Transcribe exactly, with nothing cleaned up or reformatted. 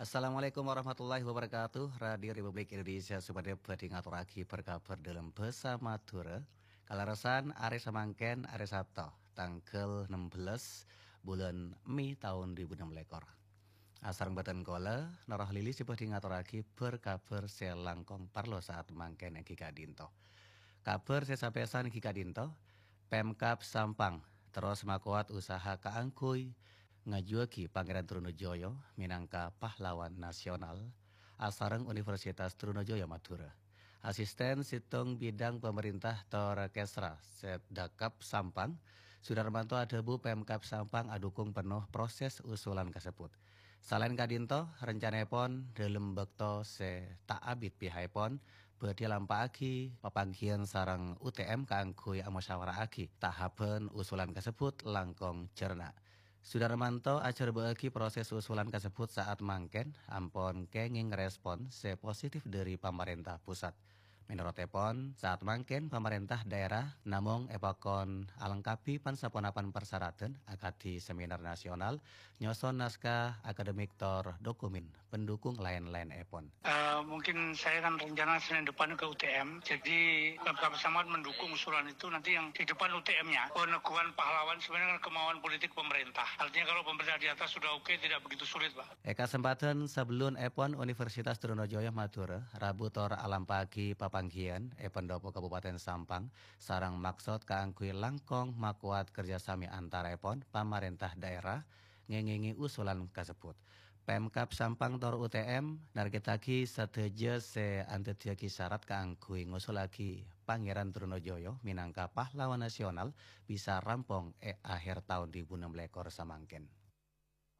Assalamualaikum warahmatullahi wabarakatuh. Radio Republik Indonesia Sumenep bhâdhi ngatorraghi bâr-kabhâr dâlem bhâsa Madhurâ. Kalerressan arè samangkèn, arè Sabto, tangghâl ennem belas bulân Mei taon du èbu ennem lèkor. Asareng bhâdhân kaulâ, Noroh Lili sè bhâdhi ngatorraghi bâr-kabhâr sè langkong parlo saat mangkèn èngghi ka'dinto. Kabhâr sè sapèsan èngghi ka'dinto, Pemkab Sampang terros makowat usaha kaangghuy ngajuwâghi Pangèran Trunojoyo mènangka pahlawan nasional asareng Universitas Trunojoyo Madhurâ. Asisten Settong Bidang Pamarènta tor Kesra Setdakap Sampang, Sudarmanto adhâbu Pemkab Sampang adhukung penno proses usulan kasebbhut. Salaèn ka'dinto, rencanaèpon dâlem bâkto sè ta' abit pihakèpon bhâdhi alampa'aghi papangghiyân sareng U T M kaangghuy amusyawara'aghi tahapan usulan kasebbhut langkong jhârna. Sudarmanto ajhârbâ'âghi proses usulan kasebbhut saat mangkèn ampon kèngèng respon sè positif dhâri pamarènta pusat. Mènorotèpon, saat mangkèn pamarènta dhaèra namong èpakon alengkabhi pan-saponapan parsaradhân akadhi seminar nasional, nyoson naskah akademik tor dokumen pendukung laèn-laènèpon. Eh, mungkin saya kan rencana Senin depan ke U T M, jadi Pemkab Sampang mendukung usulan itu, nanti yang di depan U T M-nya. Peneguhan pahlawan sebenarnya kan kemauan politik pemerintah. Artinya kalau pemerintah di atas sudah oke, tidak begitu sulit, Pak. È kasempadhân sabellunèpon Universitas Trunojoyo Madhurâ rabu tor alampa'aghi papangghiyân è pendopo Kabupaten Sampang sareng maksod kaangghuy langkong makowat kerjasami antaraèpon pamarènta dhaèra ngèngèngè usulan kasebbhut. Pemkab Sampang tor U T M narkèttaghi sadhâjâ sè andhâddhiyâghi syarat kaangghuy ngosullaghi Pangèran Trunojoyo mènangka pahlawan nasional bisa rampong è akhèr taon du èbu ennem lèkor samangkèn.